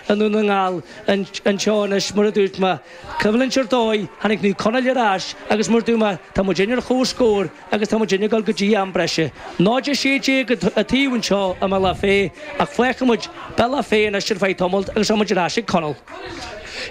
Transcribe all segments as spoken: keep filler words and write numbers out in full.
i nDún na nGall anseo anois mar a dúirt mé. Coimhlint ar dóigh, tháinig Naomh Conaill ar ais agus mar a dúirt mé, tá muidinne ar chomhscór agus tá muidinne ag dul go dtí am breise. náid a sé déag an taobh anseo i mBealach Féich ach fágfaidh muid Bealach Féich anois ar feadh tamaill agus tá muid ar ais ag Conall.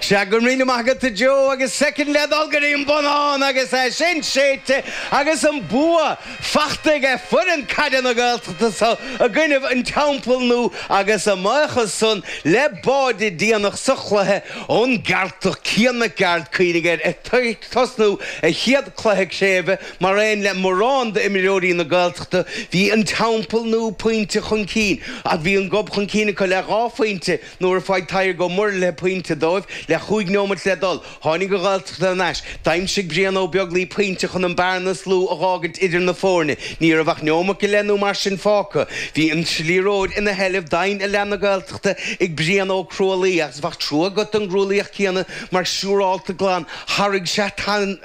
Sea, go raibh míle maith agat a Joe agus soicind le dul go dtí an bonnán agus é sin séidte agus an bua fachta aige foireann caide na Gaeltachta so i gcoinnibh an Teampall Nua agus a mbuíochas san le báide déanach sa chluiche ón gCeartach Cian Mac Gearailt cuimhnigh air ag tosnú a chéad cluiche craoibhe mar aon le morán d'imreoirí na Gaeltachta bhí an Teampall Nua pointe chun cinn ach bhí an gob chun cinn acu le dhá phointe Nuair a fuair Tadhg Ó Muirthile pointe dóibh, le chúig neomat le dul, tháinig an Ghaeltacht thar n-ais. D'aimsigh Brian Ó Beaglaoi pointe chun an bearna is lú a dh'fhágaint idir na foirne. Ní raibh ach neomat go leith nó mar sin fágtha. Bhí an liathróid ina sheilbh d'fhoireann i leath na Gaeltachta ag Brian Ó Crualaoi agus bheadh trua agat don gCrualaoich céanna mar siúrálta glan tharraing sé tain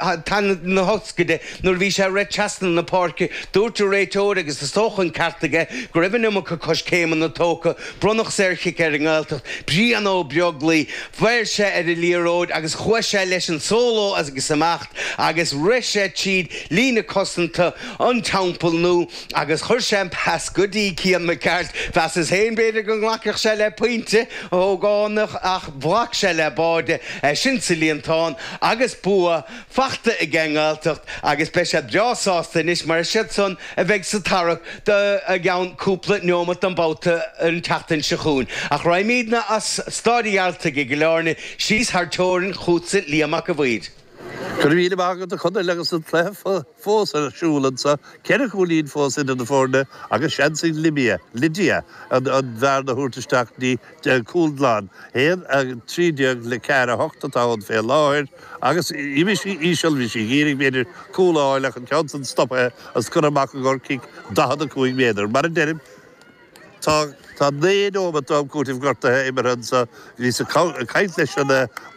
na hioscaide nuair a bhí sé ag rith trasna na páirce. Dúirt an réiteoir, agus is dócha an ceart aige, go raibh an iomarca coiscéimeanna tógtha. Bronnadh saorchic ar an nGaeltacht. Brian Ó Beaglaoi, bheir sé ar an liathróid agus chuaigh sé leis an sóló agus amach agus rith sé tríd líne cosanta an Teampaill Nua agus chuir sé an pas go dtí Cian Mac Gearailt. Mheasas féin b'fhéidir go nglacfadh sé le pointe ógánach ach ghlac sé le báide, sin sa líontán agus bua fachta ag an nGaeltacht agus beidh siad breá sásta anois mar is iad san a bheidh sa tarrac do i gceann cúpla neomat don babhta an tseachtain seo chugainn. Ach raghaimídne as Stáid an Ghearaltaigh i gCill Airne síos thar teorainn chugatsa Liam Mac a' Bhaird. Go raibh míle maith agat a Chonaill agus an cluiche fós ar siúl anseo, ceithre chúilín fós idir na foirne agus seans ag Libia, Lydia, an bhearna a thabhairt isteach go dtí cúl glan. Haon a trí déag le ceathair a hocht atá ann fé láthair agus imigh sí íseal, bhí sí ag iarraidh b'fhéidir cúl a fháil ach an ceann san stoptha agus curtha amach i gcomhair cic daichead a cúig méadar. Mar a deirim, tá tá naoi nóimeat d'am cúitimh gortaithe imeartha anseo. Bhíos ag caint leis an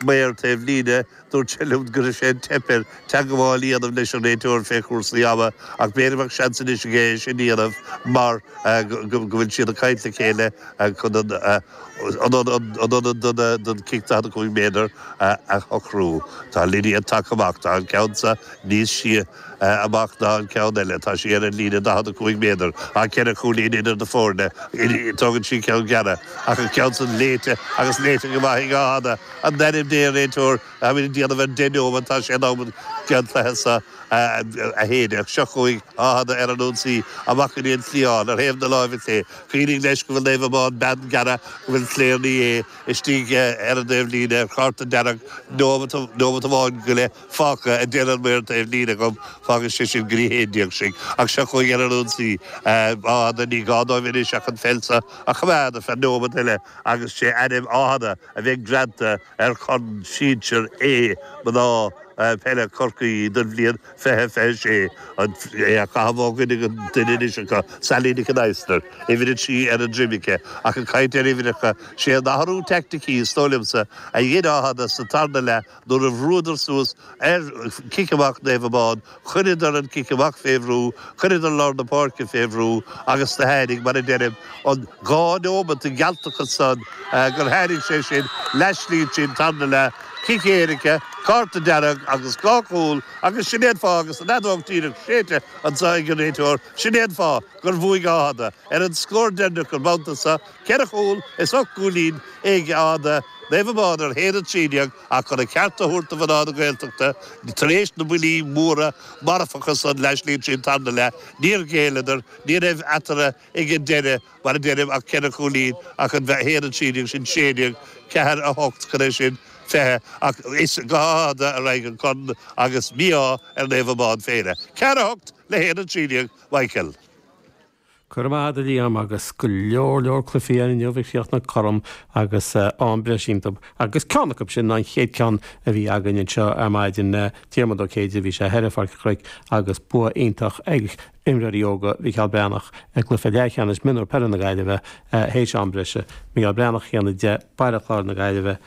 maor taobh líne, dúirt sé liom go raibh sé ag teip air teagmháil a dhéanamh leis an réiteoir fé chúrsaí ama ach b'fhéidir go mbeadh seans anois aige é sin a dhéanamh mar go bhfuil siad ag caint le chéile chun an ionad don chic daichead a cúig méadar a shocrú. Tá Lydia tagtha amach. Tá an ceann seo níos sia amach ná an ceann eile. Tá sí ar an líne daichead a cúig méadar. Tá ceithre chúilín idir na foirne. Tógann sí ceann gearr ach an ceann san léite agus léite go maith ag Áth Fhada. In ainm Dé, a réiteoir, táimid ag déanamh ar deich neomat, tá sé in am an cluiche seo a shéideadh. Seo chugainn Áth Fhada ar an ionsaí amach go dtí an cliathán ar thaobh na láimhe clé. Cuimhnigh leis go bhfuil Naomh Abán bean gearra, go bhfuil Claire Ní Aodha istigh ar an dtaobh líne ar chárta dearg, neomat amháin go leith fágtha, a deir an maor taobh líne dhom, fágfaidh sé sin go dtí haon déag sinn. Ach seo chugainn ar an ionsaí Áth Fhada, ní gá dóibh anois ach an pheil seo a choimeád ar feadh neomat eile agus sé ainm Áth Fhada a bheidh greanta ar Chorn Sinsir A mná peile Chorcaí don bhliain fiche fiche sé. É á chaitheamh ó dhuine go duine anois acu, Sally Nic an Adhastair, uimhir a trí ar a droim aici, ach ag caint ar uimhreacha, sé an athrú teaicticí, is dóigh liomsa, a dhein Áth Fhada sa tarna leath nuair a bhrúadar suas ar chic amach Naomh Abán, chuireadar an cic amach fé bhrú, chuireadar lár na páirce fé bhrú agus do tháinig, mar a deirim, an dhá neomat de ghealtachas san gur tháinig sé sin leath slí tríd an tarna leath, cic éirice, cárta dearg agus dhá chúl agus sin é an fáth agus an fheadóg díreach séidte anso ag an réiteoir, sin é an fáth gur bhuaigh Áth Fhada ar an scór deireanach an babhta seo, ceithre chúl is ocht gcúilín ag Áth Fhada, Naomh Abán ar haon a trí déag ach chun a cheart a thabhairt do mhná na Gaeltachta tar éis na mbuillí móra marfacha san leath slí tríd an tarna leath, níor ghéilleadar, ní raibh eatarthu ag an deireadh, mar a deirim, ach ceithre chúilín ach an haon a trí déag sin sé déag, ceathair a hocht, cad é sin, fiche, ach is go hÁth Fhada a raghaidh an corn agus mí-ádh ar Naomh Abán féin. Ceathair a hocht le haon a trí déag, Michael. Go raibh maith agat a Liam agus go leor leor cluichí ann inniu ag críochnú cothrom agus am breise iontu agus ceann acu sin ná an chéad ceann a bhí againn anseo ar maidin, Diarmuid Ó Céide, bhí sé thoir i Pháirc an Chnoic agus bua iontach ag imreoirí óga Mhícheál Breathnach i gcluiche leathcheannais mionúr peile na Gaillimhe théis am breise. Mícheál Breathnach a haon a deich, Baile Chláir na Gaillimhe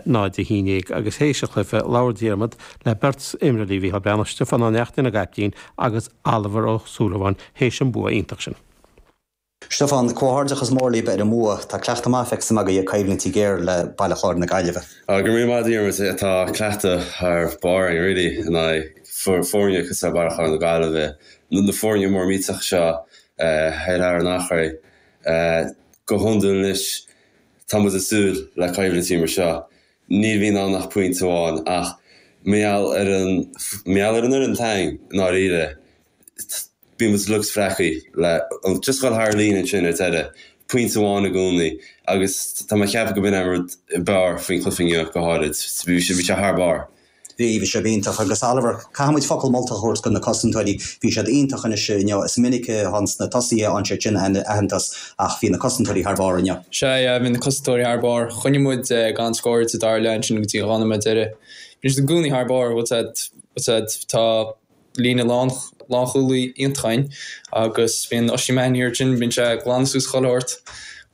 náid a haon déag agus théis an chluiche labhair Diarmuid le beirt imreoirí Mhícheál Breathnach, Stiofán Ó Neachtain an gcaiptín agus Oliver Ó Súilleabháin théis an bua iontach sin. Stiofán, Comhghairdeachas mór libh ar an mbua. Tá cleachtadh maith feicthe agaibh ag coimhlintí géar le Baile Chláir na Gaillimhe. Go raibh míle maith Diarmuid, tá cleachtadh thar barr againn really in aghaidh foirne cosúil le Baile Chláir na Gaillimhe, na foirne mór millteach seo thar an Eachréidh. Go hiondúil anois tá muid ag súil le coimhlintí mar seo. Ní bhíonn ann ach pointe amháin ach mar gheall ar an mar gheall ar an fhoireann atá againn i ndáiríre. Bíonn muid uilig spreagtha le just dhul thar líne ansin ar deireadh, pointe amháin i gcónaí agus tá mé ag ceapadh go b'in an rud ab fhearr faoin chluiche inniu go háirid. Bhí sé bhí sé thar barr. Bhí, bhí sé iontach agus Oliver, caithfidh muid focal molta a thabhairt do na cosantóirí, bhí siad iontach anois inniu, is minic a thaganns na tosaithe ansin sin aitheantas ach bhí na cosantóirí thar barr inniu. Sea, yeah, bhí na cosantóirí thar barr. Choinnigh muid gan scór sa dara leath ansin go dtí dhá nóiméad deiridh. Bhí siad i gcónaí thar barr, bhfuil siad, bhfuil siad, tá líne lánchúlaí iontach againn agus bíonn Oisín Mahony ansin, bíonn sé ag glanadh suas chuile shórt.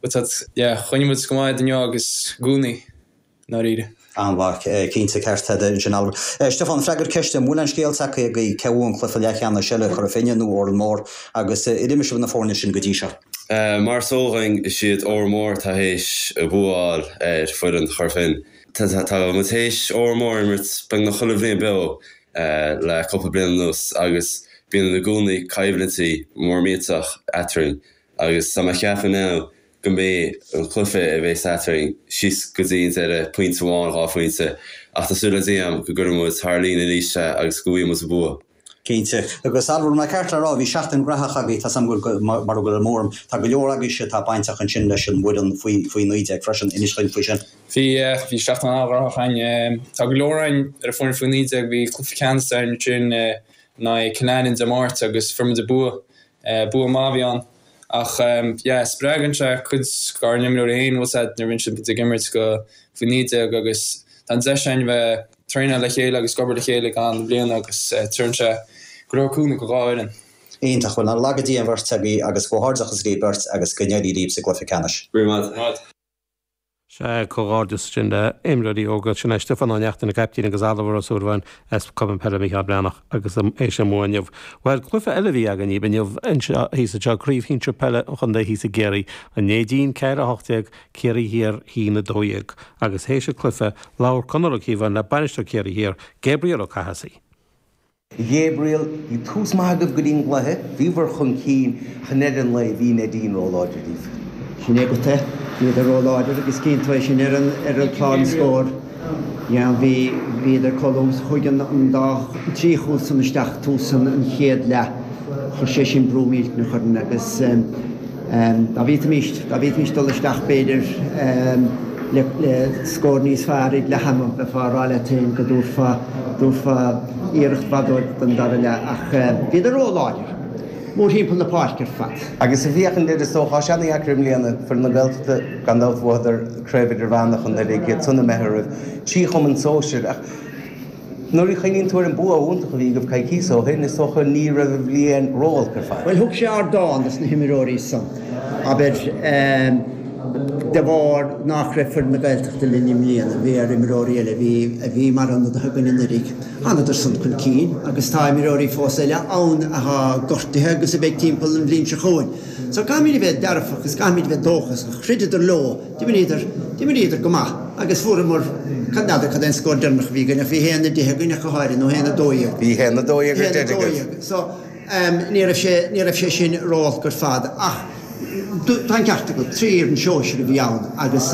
But yeah, choinnigh muid go maith inniu agus i gcónaí, i ndáiríre. An-mhaith, cinnte, ceart agat ansin Oliver. Stiofán, freagair ceist, an bhfuil an scéal tagtha agaibh cé bhuaigh an cluiche leathcheannais eile, Cora Finne nó Órán Mór, agus ar imir sibh na foirne sin go dtí seo? Mar is eol dhúinn, is iad Órán Mór atá théis bua a fháil ar foireann Chora Finne. Tá muid théis Órán Mór a imirt beagnach chuile bhliain beo le cúpla bliain anuas agus bíonn i gcónaí coimhlintí mór millteach eadrainn agus tá mé ag ceapadh now go mbeidh an cluiche a bheas eadrainn síos go dtí an deireadh, pointe amháin, dhá phointe, ach tá súil agam go gcuirfidh muid thar líne arís é agus go bhfaighidh muid an bua. Cinnte. Agus Oliver, an ceart le rá, bhí seachtain ghnóthach agaibh, tá 's agam go bhfuil, mar a bhfuil an mórm, tá go leor agaibhse atá bainteach ansin leis an bhfoireann faoi faoi naoi déag freisin, inis dhuinn faoi sin. Bhí, bhí seachtain an-ghnóthach againn. Tá go leor againn ar an bhfoireann faoi naoi déag, bhí cluiche ceannais againn ansin in aghaidh Cill Aithne Dé Máirt agus fuair muid an bua. Bua maith a bhí ann. Ach yeah, spreagann sé cuid dár n-imreoirí féin, bhfuil 's a'd, nuair a bhíonn siad ag imirt go faoi naoi déag agus tá an deis againn bheith traenáil le chéile agus ag obair le chéile i gcaitheamh na bliana agus tugann sé go leor cúnamh go dhá fhoireann. Iontach, bhuel nár laga Dia an bheirt agaibh agus comhghairdeachas libh beirt agus go n-éirí libh sa gcluiche ceannais. Go raibh maith. Sea, comhghairdeas sin le imreoirí óga. Sin é Stiofán Ó Neachtain, an caiptín agus Oliver Ó Súilleabháin as Cumann Peile Mícheál Breathnach agus théis an mbua inniu. Bhuel, cluiche eile a bhí againn inniu anseo thíos anseo, Craobh Shinsir Peile an Chontae thíos i gCiarraí, An Neidín ceathair a hocht déag, Ciarraí Thiar haon a dó dhéag. Agus théis an cluiche, labhair Conor Ó Cíobháin le bainisteoir Ciarraí Thiar, Gabriel Ó Cathasaigh. Gabriel, Bhí tús maith agaibh go dtí an gcluiche, bhíobhair chun cinn ach i ndeireadh an lae bhí Neidín róláidir daoibh. Sin é agat é. Bhíodar róláidir agus cíonn tú é sin ar an ar an chlár scóir. Yeah, bhí bhíodar chomh luath chuaigh an an dá trí chúl san isteach tús an an chéad leath. Chuir sé sin brú millteanach orainn agus dá bhféadfaimis dá bhféadfaimis dul isteach b'fhéidir le le scór níos fearr ag leath ama bheifeá ag rá leat féin go dtabharfá dtabharfá iarracht mhaith dóibh don dara leath ach bhíodar ró-láidir mórthimpeall na páirce ar fad. Agus ag féachaint air is dócha, tá sé ana-dheacair i mbliana, foireann na Gaeltachta gan dabht bhuadar Craobh Idirmheánach anuraidh, iad san imithe roimh trí chumann sóisir ach nuair a chuimhníonn tú ar an bua iontach a bhí agaibh coicíos ó shin, is dócha ní raibh an bhliain ró-olc ar fad. Bhuel thug sé ardán dos na himreoirí san, abair, de bharr nach raibh foireann na Gaeltachta linn i mbliana, bhí ar imreoirí eile a bhí a bhí mar ionadaithe againn anuraidh, thánadar san chun cinn agus tá imreoirí fós eile ann atá gortaithe agus a bheidh timpeall an bhliain seo chugainn. So caithfimid a bheith dearfach agus caithfimid a bheith dóchasach. Throideadar leo, d'imríodar, d'imríodar go maith agus fuaireamar, cad n'fheadar cad é an scór deireanach a bhí againn ach bhí haon a deich againn ach go háirithe nó haon a dó dhéag. Bhí haon a dó dhéag ar deireadh agaibh. So ní raibh sé, ní raibh sé sin ró-olc ar fad ach tá an ceart agat, trí fhoireann sóisir a bhí ann agus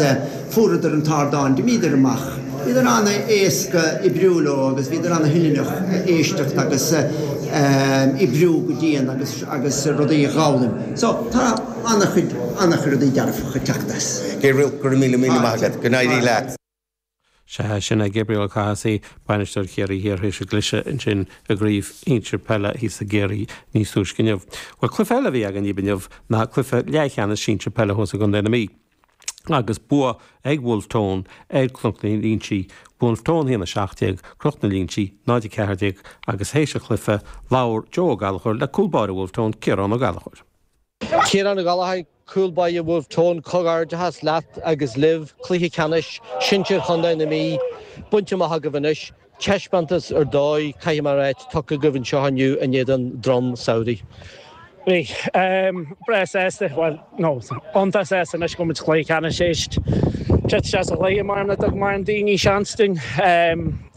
fuaireadar an t-ardán, d'imíodar amach, bhíodar an-éasca oibriú leo agus bhíodar an-fhoighneach éisteacht agus oibriú go dian agus agus rudaí a dh'fhoghlaim. So tá an-chuid, an-chuid rudaí dearfacha ag teacht as. Gabriel, go raibh míle míle maith agat. Go n-éirí leat. Sea, sin é Gabriel Ó Cathasaigh, bainisteoir Chiarraí Thiar théis a gcliseadh ansin i gcraobh shinsir peile thíos i gCiarraí níos túisce inniu. Bhuel, cluiche eile a bhí againn inniu ná cluiche leathcheannais sinsir peile thuas i gContae na Mí. Agus bua ag Wolfe Tone ar Chnoc na Inse, Wolfe Tone a haon a seacht déag, Cnoc na Inse náid a ceathair déag agus théis an chluiche labhair Joe Ó Gallchóir le cúl báire Wolfe Tone, Ciarán Ó Gallchóir. Ciarán Ó Gallchóir, cúl báire Wolfe Tone, comhghairdeachas leat agus libh, cluiche ceannais sinsir Chontae na Mí bainte amach agaibh anois. Taispeántas ar dóigh, caithfidh mé a ráit, tugtha agaibh anseo inniu in éadan Drom Samhraidh. Bhí breá sásta, bhuel, no, iontach sásta anois go bhfuil muid cluiche ceannais éist. Teacht isteach sa chluiche mar nach dtug mórán daoine seans dúinn.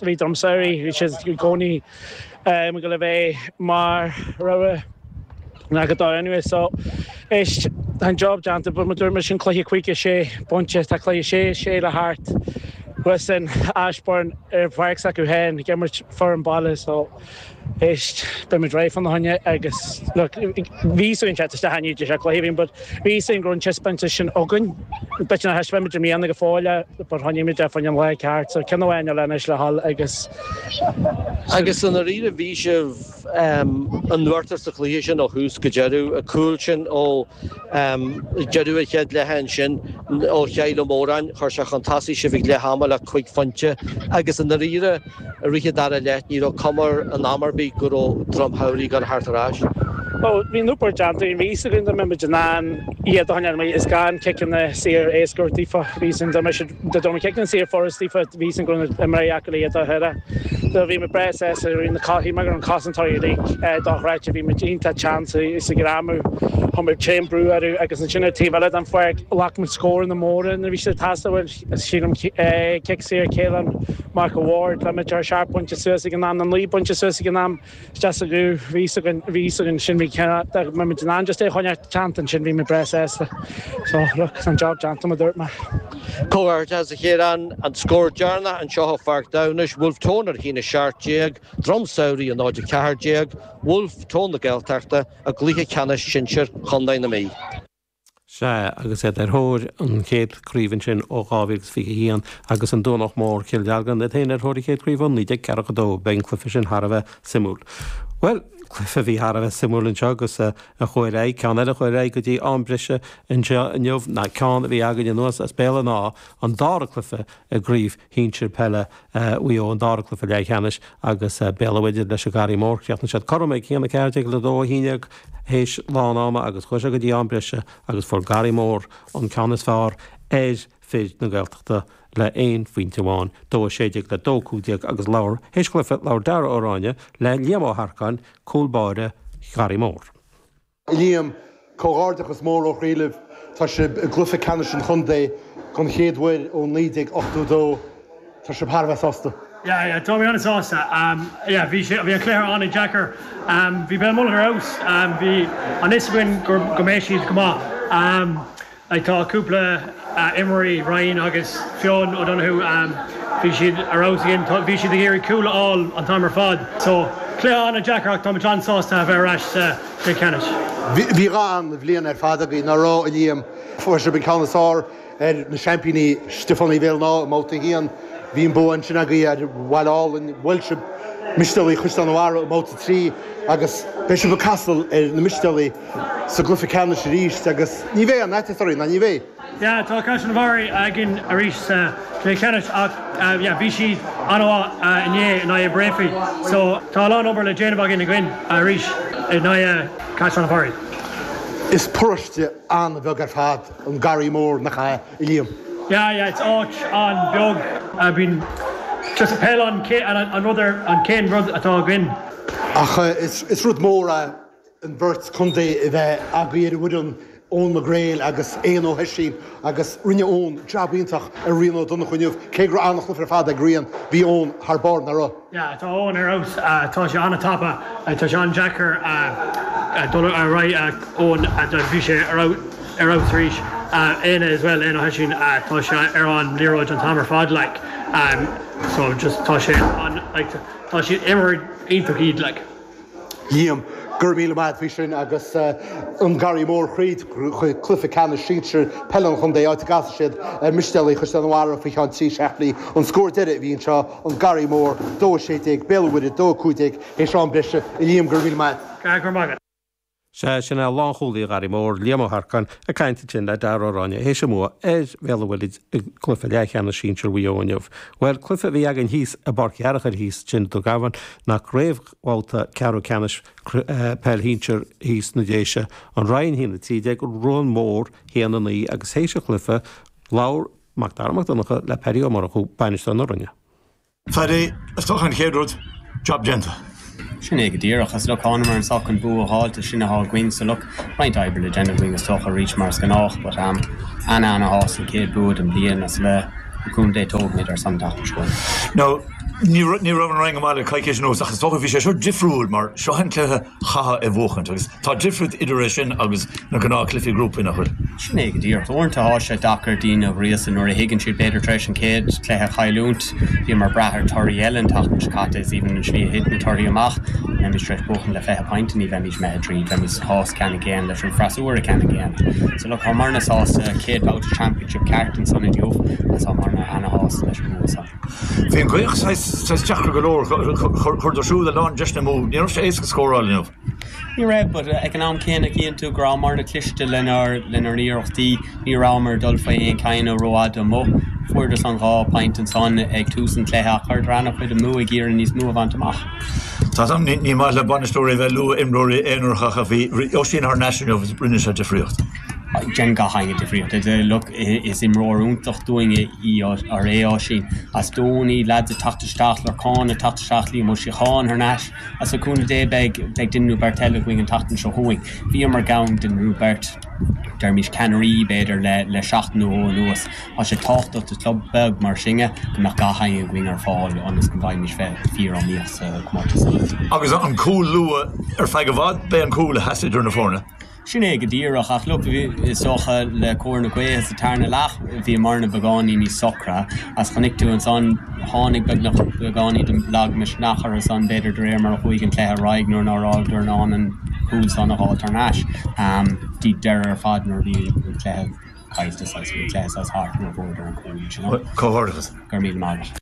Bhí Drom Samhraidh, bhí siad i gcónaí ag dul a bheith mar rogha na go dár anyway so éist tá an job déanta but mar dúirt mé sin cluiche cúig a sé pointe tá cluiche sé sé le theacht thuas in Ashbourne ar pháirc s'acu féin ag imirt foireann baile so éist beidh muid réidh fána choinne agus look bhí fhios againn teacht isteach inniu sé cluiche bhí but bhí fhios againn go raibh an taispeántas sin againn b'fhéidir nár thaispeáin muid i mbliana go fóill é but choinnigh muid é fá choinne an lá ceart so ceann amháin eile anois le dhul agus Agus i ndáiríre bhí sibh in uachtar sa chluiche sin ó thús go deireadh, an cúl sin ó deireadh an chéad leath ansin ó Chill Ó Móráin, chuir sé chun tosaigh sibh ag leath ama le cúig phointe agus i ndáiríre i rith an dara leath ní raibh cuma in am ar bith go raibh Droim Shamhraidh ag dul a theacht ar ais. Bhuel, bhí an obair déanta, bhí fhios againn dá mbeadh muid in ann iad a choinneáil amuigh is gan ciceanna saor éasca a thabhairt daofa. Bhí fhios againn dá mbeadh siad, dá mbeadh ciceanna saor furast daofa, bhí fhios againn go raibh na imreoirí acu le iad a chur. So bhí muid breá sásta, bhí na, shíl mé go raibh na cosantóirí uilig dochreidte, bhí muid iontach teann is ag greamú, chuir muid tréan brú orthu agus ansin ar taobh eile den pháirc ghlac muid scóranna móra nuair a bhí siad ag teastáil, sílim cic saor Caelan Mac a' Bhaird le muid ar seacht bpointe suas ag an am, nó naoi bpointe suas ag an am. Isteach sa ghuth, bhí fhios againn, bhí fhios againn sin, bhí dá mbeadh muid in ann just é a choinneáil teannta ansin, bhí muid breá sásta. So, look, tá an job déanta, mar a dúirt mé. Comhghairdeas a Chiaráin, an scór deireanach anseo i Pháirc Damhnais, Wolfe Tone ar a haon a seacht déag, Drom Samhraidh a náid a ceathair déag, Wolfe Tone na Gaeltachta i gcluiche ceannais sinsir Chontae na Mí. Sea, agus iad ar thóir an chéad chraobh ansin ó dhá mhíle is fiche a haon agus an Domhnach Mór, Cill Dealgan, iad féin ar thóir an chéad chraobh ó naoi déag ceathracha a dó. Beidh an cluiche sin thar a bheith suimiúil. Bhuel, cluiche a bhí thar a bheith suimiúil anseo agus a chuaigh ar aghaidh, ceann eile a chuaigh ar aghaidh go dtí am breise anseo inniu ná ceann a bhí againn anuas as Béal an Átha, an dara cluiche i gcraobh shinsir peile Mhaigh Eo, an dara cluiche leathcheannais agus Béal an Mhuirthead leis an Garraí Mór. Chríochnaigh siad cothrom ag a haon a ceathair déag le dó a haon déag théis lán ama agus chuaigh sé go dtí am breise agus fuair Garraí Mór an ceann is fearr ar fir na Gaeltachta le aon phointe amháin, dó a sé déag le dó a cúig déag agus labhair, théis an chluiche, labhair Dara Ó Ráinne le Liam Ó hEarcáin, cúl báire Gharraí Mór. Liam, Comhghairdeachas mór ó chroí libh. Tá sibh i gcluiche ceannais an chontae don chéad uair ó naoi déag ochtó dó. Tá sibh thar a bheith sásta? Yeah, yeah, tá mé an-sásta. Yeah, bhí sé, bhí an cluiche an-deacair. Bhí Béal Mullach ar fheabhas. Bhí an fhios againn go, go mbeidh siad go maith. Like tá cúpla imreoirí, Ryan agus Fionn O'Donoghue, bhí siad ar fheabhas again. Bhí siad ag iarraidh cúl a fháil an t-am ar fad. So, cluiche an-deacair ach táimid an-sásta a bheith ar ais sa chluiche ceannais. Bhí dhá an-bhliain ar fad agaibh, nach raibh, a Liam? Fuair sibh an ceann is fearr ar na seaimpíní Stiofánaigh Bhéal an Átha i mbabhta a haon. Bhí an bua ansin agaibh ar Bhaile Álainn. Bhuail sibh Mistéalaigh Chaisleán an Bharraigh i mbabhta a trí agus beidh sibh ag casadh ar na Mistéalaigh sa gcluiche ceannais arís agus ní bheidh aon fhaitíos oraibh, ná ní bheidh? Yeah, tá Caisleán an Bharraigh againn arís sa chluiche ceannais ach yeah, bhí siad an-mhaith inné in aghaidh Breaffy so tá a lán obair le déanamh againn againn arís in aghaidh Caisleán an Bharraigh. Is paróiste an-bheag ar fad an Garraí Mór, nach ea, a Liam? Yeah, yeah, it's áit an-bheag. Bíonn just peil an an rud ar an chéad rud atá againn. Ach is rud mór é an bheirt chontae a bheith agaibh ar an bhfoireann, Eoin McGrail agus Éanna Ó hOisín agus rinne Eoin jab iontach ar Rian Ó Donnchú inniu. Cé go raibh an-chluiche ar fad ag Rian, bhí Eoin thar barr, nach raibh? Yeah, tá Eoin ar fheabhas. Tá sé an-tapa. Tá sé an-deacair dul ar aghaidh Eoin. Bhí sé ar fheabhas arís. Éanna as well, Éanna Ó hOisín, tá sé ar an liathróid an t-am ar fad like. So just tá sé an like tá siad imreoirí iontach iad like. Liam, Go raibh míle maith agat faoi sin agus an Garraí Mór thríd chuig cluiche ceannais sinsir peile an chontae, áit a gcasfaidh siad ar Mhistéalaigh Chaisleán an Bharraigh faoi cheann trí seachtainí. An scór deiridh a bhí anseo, an Garraí Mór, dó a sé déag, Béal an Mhuirthead, dó a cúig déag, théis am breise. A Liam, go raibh míle maith agat. Go raibh maith agat. Sea, sin é lánchúlaí an Gharraí Mór, Liam Ó hEarcáin, ag caint ansin le Dara Ó Ráinne théis a mbua ar Bhéal an Mhuirthead i gcluiche leathcheannais sinsir Mhaigh Eo inniu. Bhuel, cluiche a bhí againn thíos i bPáirc Fhearchair thíos ansin i dTuath Gabhann ná craobhbhabhta ceathrú ceannais peil shinsir thíos na Déise, An Rinn a haon a trí déag, Ruán Mór a haon a naoi agus théis an chluiche labhair Mac Dara Mac Donncha le Paddy Ó Murchú, bainisteoir na Rinne. Phaddy, is dócha an chéad rud, job déanta. Sin é go díreach as look thánamar anseo chun bua a fháilt sin atá againn so look roinnt oibre le déanamh againn is dócha arís mar is gnách but um, ana ana shásta an chéad bua den bhliain as le cúnamh Dé tógfaimid ar son an tseachtain seo. Now, ní ní raibh an Rinn go maith le coicís anuas ach is dócha bhí sé seo difriúil mar seo an cluiche chaithfeá a bhuachaint agus tá difríocht idir é sin agus na gnáthchluichí grúpa nach bhfuil. Sin é go díreach uaireanta tá sé deacair daoine a ghríosadh nuair a thuigeann siad b'fhéidir tar éis an chéad cluiche a chailliúint bhíomar ag brath ar torthaí eile an tseachtain seo caite is even an slí a thit na torthaí amach bheimis tar éis buachan le fiche pointe ní bheimis imithe tríd bheimis chás ceanna céanna leis an freasúra ceanna céanna. So look támarna sásta céad babhta championship ceart ansan inniu agus támarna ana-shásta leis an bua san. Bhí an ghaoth saghas deacair go leor chuir siúd a lán deiseanna amú, ní raibh sé éasca scóráil inniu. Ní raibh, but ag an am céanna cíonn tú go rabhamar cliste lenár lenár n-iarrachtaí ní rabhamar dul faoi aon chaine rófhada amuigh. Fuaireas an dhá pointe ansan ag tús an chluiche ach chuir an-chuid amú ag iarraidh níos mó a bhaint amach. Tá am ní maith le bainisteoirí bheith ag lua imreoirí aonaracha a bhí Oisín thar n-ais inniu rinne sé difríocht. Déanann gach éinne difríocht. Look is imreoir iontach dúinn í ar é Oisín as dónaí lads ag teacht isteach Lorcán ag teacht isteach Liam Ó Síocháin thar n-ais as a cúnamh Dé beidh beidh duine nó beirt eile againn an tseachtain seo chugainn. Bhíomar gann duine nó beirt deirimis ceannairí b'fhéidir le le seachtain nó anuas. Tá sé tábhachtach do club beag mar sinne go mbeadh gach éinne againn ar fáil ionas go bhfaighimid bheith fíor-iomaíoch sa chomórtas. Agus an cúl luath ar feadh i bhfad b'é an cúl a sheas idir na foirne. Sin é go díreach ach look is dócha le cóir na gaoithe sa tarna leath bhí marna beagáinín níos socra as chonaic tú ansan tháinig beagnach beagáinín de lagmhisneach orthu san b'fhéidir de réir mar a chuaigh an cluiche ar aghaidh nuair nár fhágadar in ann an cúl san a fháil thar n-ais. Dtí deireadh ar fad nuair a bhí an cluiche caillte saghas bhí an cluiche saghas thart nuair a bhuadar an cúl you know. Comhghairdeachas. Go raibh míle maith agat.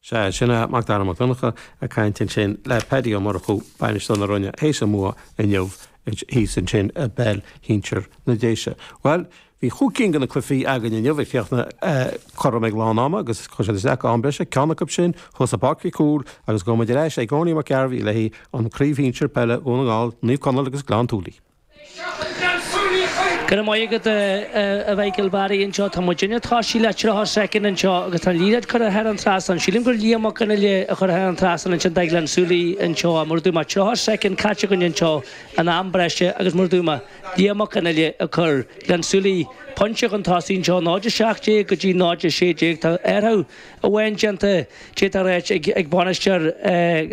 Sea, sin é Mac Dara Mac Donncha ag caint ansin le Paddy Ó Murchú bainisteoir na Rinne théis an bhua inniu thíos ansin i bpeil shinsir na Déise. Well, bhí chúig cinn de na cluichí againn inniu ag chríochnaigh cothrom ag lán ama agus chuaigh siad isteach go am breise ceann acu sin thuas i bPáirc Mhic Cumhaill agus gabhfaidh muid ar ais ag Owenie Mac Gairbhí le haghaidh an chraobh shinsir peile Dhún na nGall, Naomh Conaill agus Gleann tSúilí. Go raibh maith agat a Mhichael Barry anseo tá muid ag tosaí le tríocha soicind anseo agus tá an liathróid curtha thar an trasnán. Sílim gur Liam Mac Fhionnghaile a chuir thar an trasnán ansin do Ghleann tSúilí anseo mar dúirt mé tríocha soicind caite againn anseo an am breise agus mar dúirt mé Liam Mac Fhionnghaile a chur Gleann tSúilí pointe chun tosaigh anseo náid a seacht déag go dtí náid a sé déag tá athrú amháin déanta déanta réit ag ag bainisteoir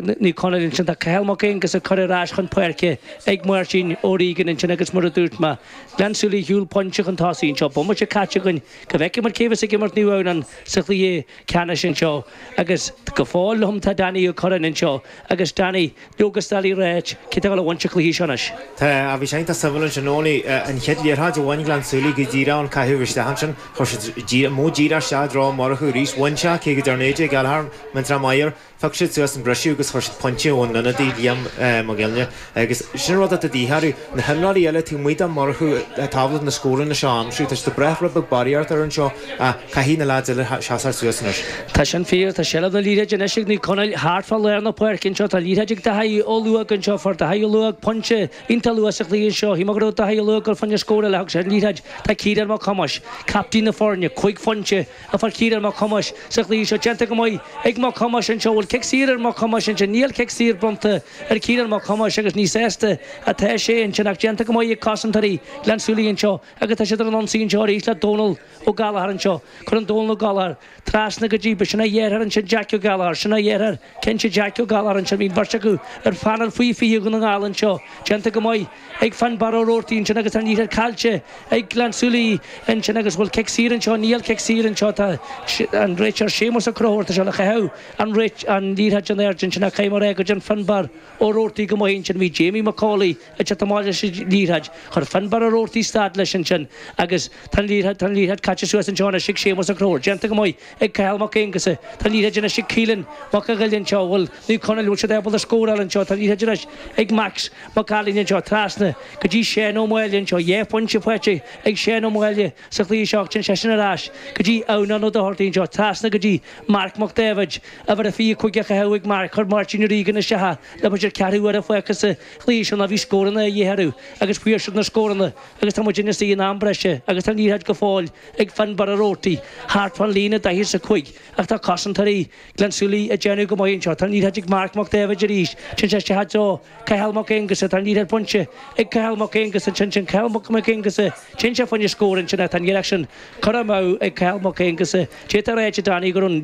Naomh Conaill ansin tá Cathal Mac Aonghus ag cur ar ais chun páirce ag Máirtín Ó Riain ansin agus mar a dúirt mé Gleann Tsúilí ar shiúl pointe chun tosaigh anseo bomaite caite againn go bhfeicfidh muid cé bheas ag imirt Naomh Adhamhnáin sa chluiche ceannais anseo agus go fóill liom tá Danny Ó Curráin anseo agus Danny leoga is doiligh a ráit cé atá ag dul a bhaint an chluiche seo anois. Tá a bhí sé iontach suimiúil ansin Owenie an chéad liathróid a bhain Gleann Tsúilí go díreach an caitheamh isteach ansin chuir siad modh díreach isteach i dtreo Murchú arís bhain sé cé go dtearn AJ Gallagher mintra Meyer Phioc siad suas an briseadh agus chuir siad pointe ón ionadaí Liam Mac Fhionnghaile agus sin rud atá de dhíth orthu. Na himreoirí eile taobh amuigh de Murchú tábla na scóranna seo a aimsiú. Tá siad ag brath rud beag barraíocht air anseo ach caithfidh na lads eile seasamh suas anois. Tá sin fíor, tá seilbh na liathróide anois ag Naomh Conaill thart fá lár na páirce anseo. Tá liathróid ag Daithí Ó Luaig anseo, fuair Daithí Ó Luaig pointe iontach luath sa chluiche seo. Shíl mé go raibh Daithí Ó Luaig ag dul fá choinne scór eile, thug sé an liathróid. Tá Ciarán Mac Thomáis, captaen na foirne, cúig phointe a fuair Ciarán Mac Thomáis sa chluiche seo. Déanta go maith ag Mac Thomáis anseo. Bhfuil cic saor ar Mac Thomáis ansin? Níl cic saor bronnta ar Ciarán Mac Thomáis agus ní sásta atá sé ansin ach déanta go maith ag cosantóirí Ghleann tSúilí anseo agus tá siad ar an ionsaí anseo arís le Dónal Ó Gallchóir anseo. Cuireann Dónal Ó Gallchóir trasna go dtí, b'shin a dheartháir ansin Jack Ó Gallchóir, sin a dheartháir cinnte Jack Ó Gallchóir ansin, bhí an bheirt acu ar phainéal faoi fiche Dhún na nGall anseo. Déanta go maith ag Fionnbarra Ó Roarty ansin agus tá an liathróid caillte ag Gleann tSúilí ansin agus bhfuil cic saor anseo? Níl cic saor anseo, tá an réiteoir Séamus Ó Conchúir, tá sé le caitheamh an réit an liathróid in airde ansin ach caithfidh mé a rá go dtearn Fionnbarr Ó Roarty go maith ansin, bhí Jamie McCauley ag teacht amach leis an liathróid, chuir Fionnbarr Ó Roarty stad leis ansin agus tá an liathróid tá an liathróid caite suas anseo anois ag Séamus Ó Conchúir, déanta go maith ag Cathal Mac Aonghusa, tá an liathróid anois ag Keelan Mac a' Ghiolla anseo, bhfuil Naomh Conaill, bhfuil siad ábalta scóráil anseo, tá an liathróid anois ag Max Mac Ailín anseo, trasna go dtí Seán Ó Máille anseo, dhá phointe faighte ag Seán Ó Máille sa chluiche seo, téann seisean ar ais go dtí Adhamhnán Ó Dochartaigh anseo, trasna go dtí Marc Mac Daibhéid, uimhir a fiche cúig á chaitheamh ag Marc, chuir Máirtín Ó Riagáin isteach le b'fhéidir ceathrú uaire fágtha sa chluiche seo ná bhí scóranna a dhíth orthu agus fuair siad na scóranna agus tá muid ina suí in am breise agus tá an liathróid go fóill ag ag Finnbarra Roarty thart fán líne daichead is a cúig ach tá cosantóirí Ghleann tSúilí ag déanamh go maith anseo. Tá an liathróid ag Marc Mac Daibhéid arís. Téann sé isteach i dtreo Cathal Mac Aonghusa. Tá an liathróid bainte ag Cathal Mac Aonghusa ansin. Sin Cathal Mac Aonghusa. Téann sé fá choinne scór ansin ach tá an iarracht sin curtha amú ag Cathal Mac Aonghusa. D'fhéadfá a ráit, a Danny, go raibh an.